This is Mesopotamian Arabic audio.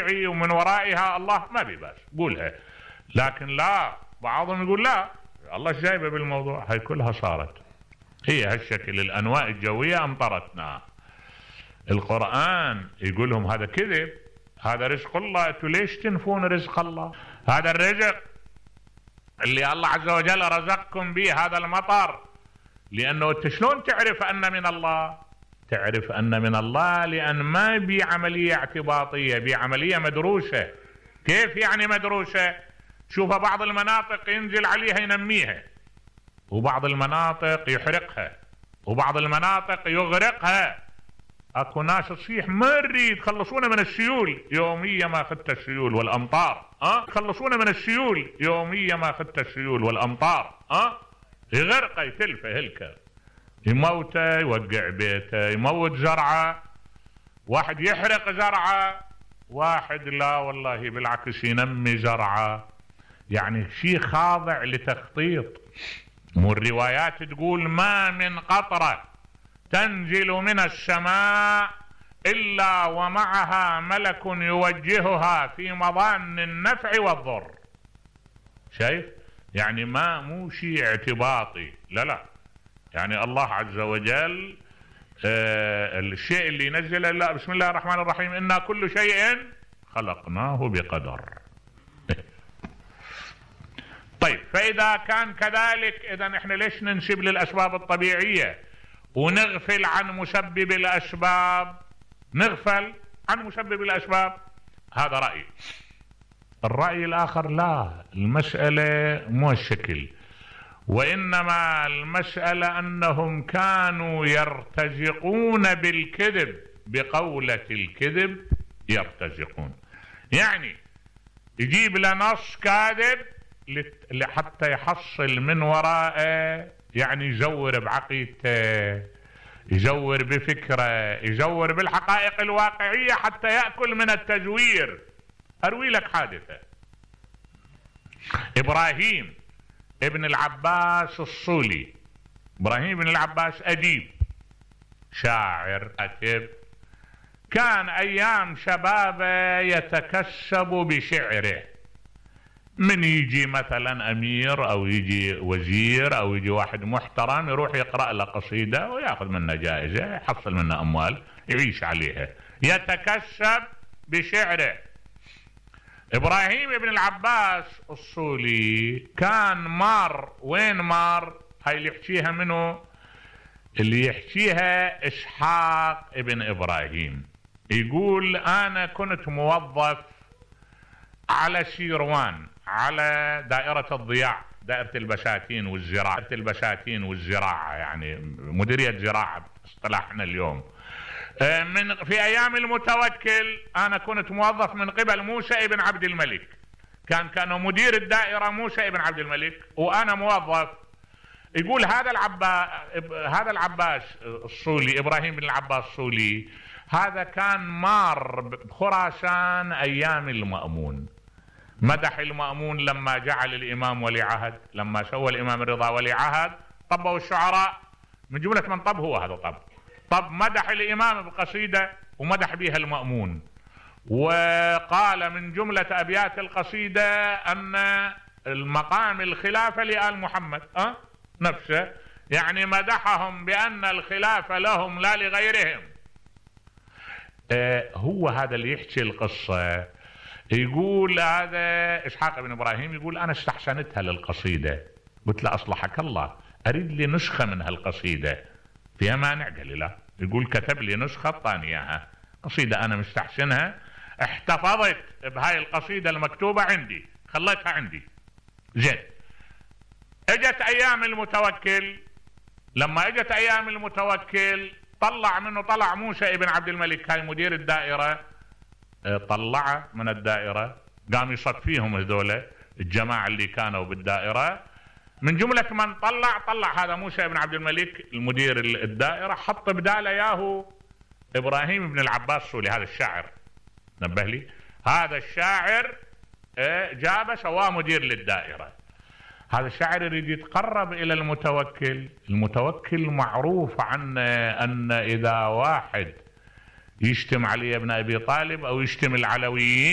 طبيعي ومن ورائها الله ما بيباس قولها. لكن لا، بعضهم يقول لا الله ايش جايبه بالموضوع، هاي كلها صارت هي هالشكل، الانواء الجوية امطرتنا. القرآن يقول لهم هذا كذب، هذا رزق الله، انتوا ليش تنفون رزق الله؟ هذا الرزق اللي الله عز وجل رزقكم به، هذا المطر، لانه انت شلون تعرف ان من الله؟ تعرف ان من الله لان ما بي عملية اعتباطية، بي عملية مدروسة. كيف يعني مدروسة؟ شوف بعض المناطق ينزل عليها ينميها، وبعض المناطق يحرقها، وبعض المناطق يغرقها. اكو ناس تصيح ما نريد خلصونا من السيول، يوميا ما اخذت السيول والامطار، خلصونا من السيول، يوميا ما اخذت السيول والامطار، يغرقه يتلفه هلكه، يموته، يوقع بيته، يموت زرعه، واحد يحرق زرعه، واحد لا والله بالعكس ينمي زرعه. يعني شيء خاضع لتخطيط. والروايات تقول ما من قطرة تنزل من السماء إلا ومعها ملك يوجهها في مظان النفع والضر. شايف؟ يعني ما مو شيء اعتباطي، لا، يعني الله عز وجل الشيء اللي ينزله، لا، بسم الله الرحمن الرحيم إنا كل شيء خلقناه بقدر. طيب فإذا كان كذلك، إذا احنا ليش ننسب للأسباب الطبيعية ونغفل عن مسبب الأسباب؟ نغفل عن مسبب الأسباب، هذا رأي. الرأي الآخر لا، المسألة مو الشكل، وإنما المسألة أنهم كانوا يرتزقون بالكذب، بقولة الكذب يرتزقون. يعني يجيب لنص كاذب لحتى يحصل من وراءه، يعني يزور بعقيدته، يزور بفكره، يزور بالحقائق الواقعية حتى يأكل من التزوير. أروي لك حادثة. إبراهيم ابن العباس الصولي، إبراهيم ابن العباس أديب، شاعر، كاتب، كان أيام شبابه يتكسب بشعره. من يجي مثلا أمير أو يجي وزير أو يجي واحد محترم يروح يقرأ له قصيدة ويأخذ منها جائزة، يحصل منها أموال يعيش عليها، يتكسب بشعره. إبراهيم ابن العباس الصولي كان مار، وين مار؟ هاي اللي يحكيها منه، اللي يحكيها إسحاق ابن إبراهيم. يقول أنا كنت موظف على شيروان، على دائرة الضياع، دائرة البساتين والزراعة، يعني مديرية زراعة باصطلاحنا اليوم. في أيام المتوكل أنا كنت موظف من قبل موسى ابن عبد الملك، كان مدير الدائرة موسى ابن عبد الملك وأنا موظف. يقول هذا العباس الصولي، إبراهيم بن العباس الصولي، هذا كان مار بخراسان أيام المأمون، مدح المأمون لما جعل الإمام ولي عهد، لما سوى الإمام الرضا ولي عهد، طبوا الشعراء من جملة من طب هو هذا طب مدح الإمام بقصيدة ومدح بها المأمون، وقال من جملة أبيات القصيدة أن المقام الخلافة لآل محمد نفسه، يعني مدحهم بأن الخلافة لهم لا لغيرهم. هو هذا اللي يحكي القصة. يقول هذا إسحاق بن إبراهيم، يقول أنا استحسنتها للقصيدة، قلت له أصلحك الله أريد لي نسخة من هالقصيدة، فيها مانع؟ قال لي لا. يقول كتب لي نسخة طاني إياها، قصيدة أنا مستحسنها، احتفظت بهاي القصيدة المكتوبة عندي، خليتها عندي. زين، اجت أيام المتوكل، لما اجت أيام المتوكل طلع موسى ابن عبد الملك، هاي مدير الدائرة، طلعه من الدائرة، قام يصفيهم هذول الجماعة اللي كانوا بالدائرة. من جملة من طلع هذا موسى بن عبد الملك المدير الدائرة، حط بداله ياهو إبراهيم بن العباس الصولي، هذا الشاعر، نبه لي، هذا الشاعر جابه سواه مدير للدائرة. هذا الشاعر يريد يتقرب إلى المتوكل معروف عنه أن إذا واحد يشتم علي ابن أبي طالب أو يشتم العلويين